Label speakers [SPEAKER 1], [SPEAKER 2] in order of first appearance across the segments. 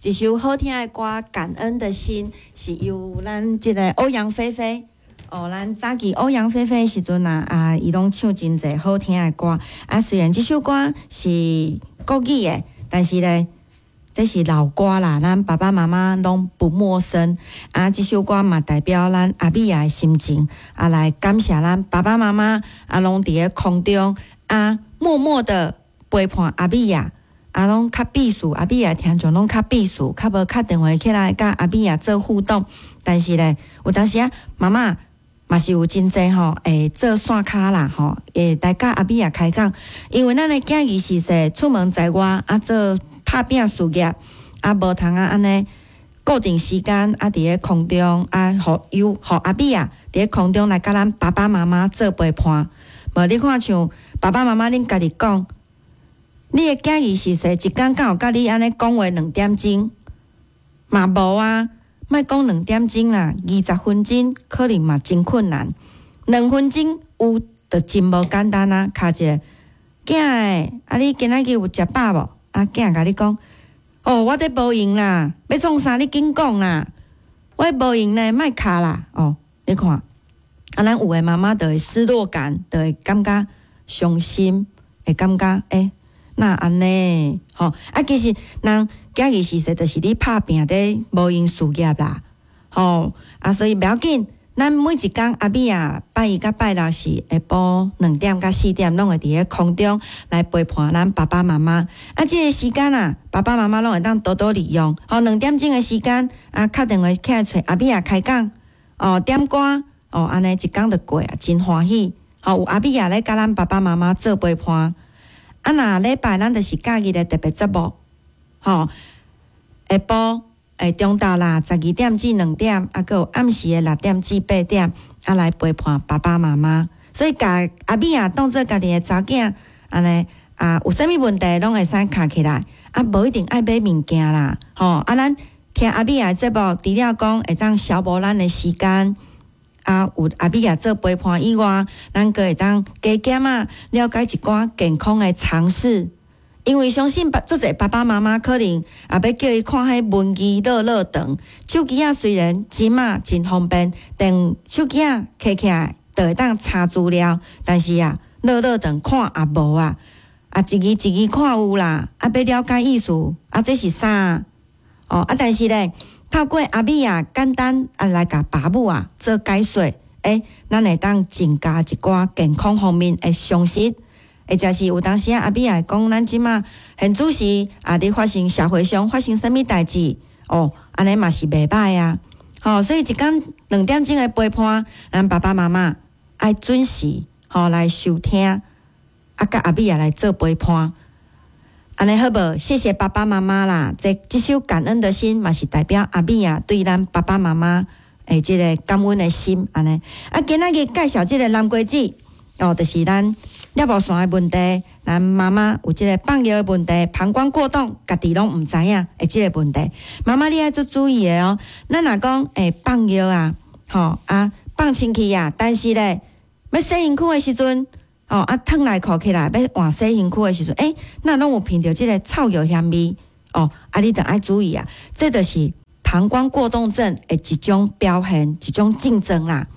[SPEAKER 1] 一首好聽的歌《感恩的心》是由咱這個歐陽菲菲。哦，咱早期歐陽菲菲的時陣啊，啊，伊攏唱真濟好聽的歌。啊，雖然這首歌是國語的，但是咧，這是老歌啦，咱爸爸媽媽攏不陌生。啊，這首歌嘛代表咱阿美仔的心情，啊，來感謝咱爸爸媽媽啊，攏佇咧空中啊，默默的陪伴阿美仔。啊，攏較避暑，阿美仔聽眾攏較避暑，較無敲電話起來佮阿美仔做互動。但是咧，有當時啊，媽媽嘛是有真濟吼，會做線跤啦吼，會來佮阿美仔開講。因為咱的囝兒是說出門在外啊，做拍拚事業啊，無通啊按呢固定時間啊，佇咧空中啊，予由予阿美仔佇咧空中來佮咱爸爸媽媽做陪伴。無你看像爸爸媽媽恁家己講。你的囝兒是說一工敢有佮你按呢講話兩點鐘？嘛無啊，莫講兩點鐘啦，20分鐘可能嘛真困難。2分鐘有就真無簡單啊！敲一个囝欸，啊你今仔日有食飽無？啊囝共你講，哦，我這無閒啦，欲創啥你緊講啦，我無閒呢，莫敲啦。哦，你看，啊咱有的媽媽就會失落感，就會感覺傷心，會感覺欸。哪按呢？吼啊！其實人囝兒時勢就是咧拍拚咧無閒事業啦，吼啊！所以袂要緊，咱每一工阿美仔拜一佮拜六是下晡2點到4點，攏會佇咧空中來陪伴咱爸爸媽媽。啊，這個時間啊，爸爸媽媽攏會當多多利用。吼，2點鐘的時間啊，敲電話起來揣阿美仔開講，哦，點歌，哦，按呢一工就過啊，真歡喜。吼，有阿美仔咧佮咱爸爸媽媽做陪伴。啊，若禮拜咱就是假日的特別節目，吼，下晡會中晝啦，12點至2點，啊，閣有暗時的6點至8點，啊，來陪伴爸爸媽媽。所以，共阿美仔當做家己的查囝，按呢啊，有啥物問題攏會使敲起來，啊，無一定愛買物件啦，吼，啊，咱聽阿美仔的節目，除了講會當消磨咱的時間。啊，有阿美仔做陪伴以外，咱閣會當加減仔了解一寡健康的常識。因為相信爸足濟爸爸媽媽可能也欲叫伊看彼文字樂樂長。手機仔雖然這馬真方便，但手機仔揢起來就會當查資料，但是啊，樂樂長看也無啊，啊一字一字看有啦，啊欲了解意思，啊這是啥？哦啊，但是咧。透過阿美仔簡單啊來共爸母啊做解說，欸，咱會當增加一寡健康方面的常識，或者是有當時啊阿美仔會講，咱這馬現此時啊，咧發生社會上發生啥物代誌哦，按呢嘛是袂䆀啊，吼，所以一工2點鐘的陪伴，咱爸爸媽媽愛準時吼來收聽，啊，佮阿美仔來做陪伴。按呢好無？謝謝爸爸媽媽啦！這這首感恩的心嘛是代表阿美仔對咱爸爸媽媽的這个感恩的心。按呢，啊，今仔日介紹這个南瓜子哦，就是咱尿布疝的問題，咱媽媽有這个放尿的問題，膀胱過動，家己攏毋知影的這个問題。媽媽你愛做注意的哦。咱若講會放尿啊，吼啊放清氣啊，但是咧欲洗身軀的時陣。哦，啊，褪內褲起來，欲換洗身軀的時陣，欸，若攏有聞著這个臭尿腥味，哦，啊，你著愛注意啊，這就是膀胱過動症的一種表現，一種症狀啦。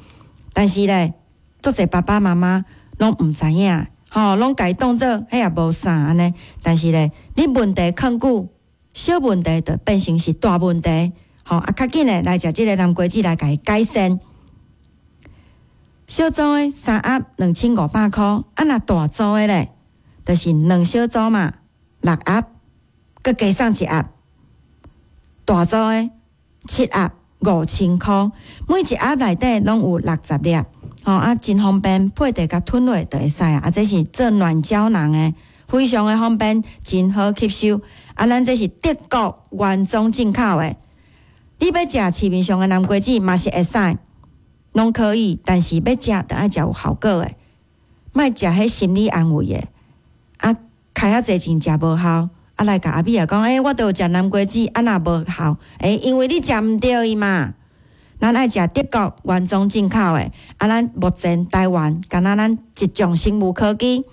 [SPEAKER 1] 但是咧，足濟爸爸媽媽攏毋知影，吼，攏共伊當做彼也無啥按呢。但是咧，你問題囥久，小問題就變成是大問題，吼，啊，較緊的來食這个南瓜子來共伊改善。小組的三盒2500箍，啊若大組的咧，就是兩小組嘛，六盒，閣加送一盒。大組的七盒5000箍，每一盒內底攏有60粒，吼啊真方便，配茶共吞落就會使啊。啊，這是做軟膠囊的，非常的方便，真好吸收。啊，咱這是德國原裝進口的，你欲食市面上的南瓜子嘛是會使。攏可以，但是欲食，著愛食有效果的，莫食彼心理安慰的。啊，開遐濟錢食無效，啊來共阿美仔講，欸，我都有食南瓜子，啊若無效，欸，因為你食毋著伊嘛。咱愛食德國原裝進口的，啊，咱目前台灣，干焦咱一眾生物科技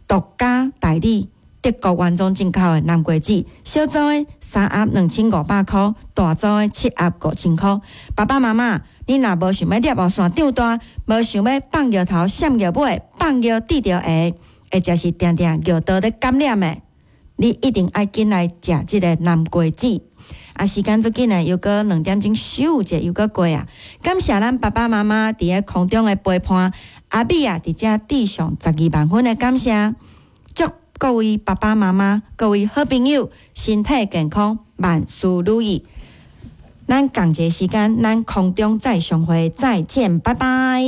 [SPEAKER 1] 獨家代理，德國原裝進口的南瓜子，小組的三盒2500箍，大組的七盒5000箍。爸爸媽媽，你若無想欲攝予線長大，無想欲放尿頭、閃尿尾、放尿滴著下，或者是定定尿道咧感染的，你一定愛緊來食這个南瓜子。啊，時間足緊的，又閣2點鐘咻者又閣過啊！感謝咱爸爸媽媽佇咧空中的陪伴，阿美啊，佇遮致上12萬分的感謝，祝各位爸爸媽媽、各位好朋友身體健康，萬事如意。咱仝一个時間，咱空中再相會，再見，拜拜。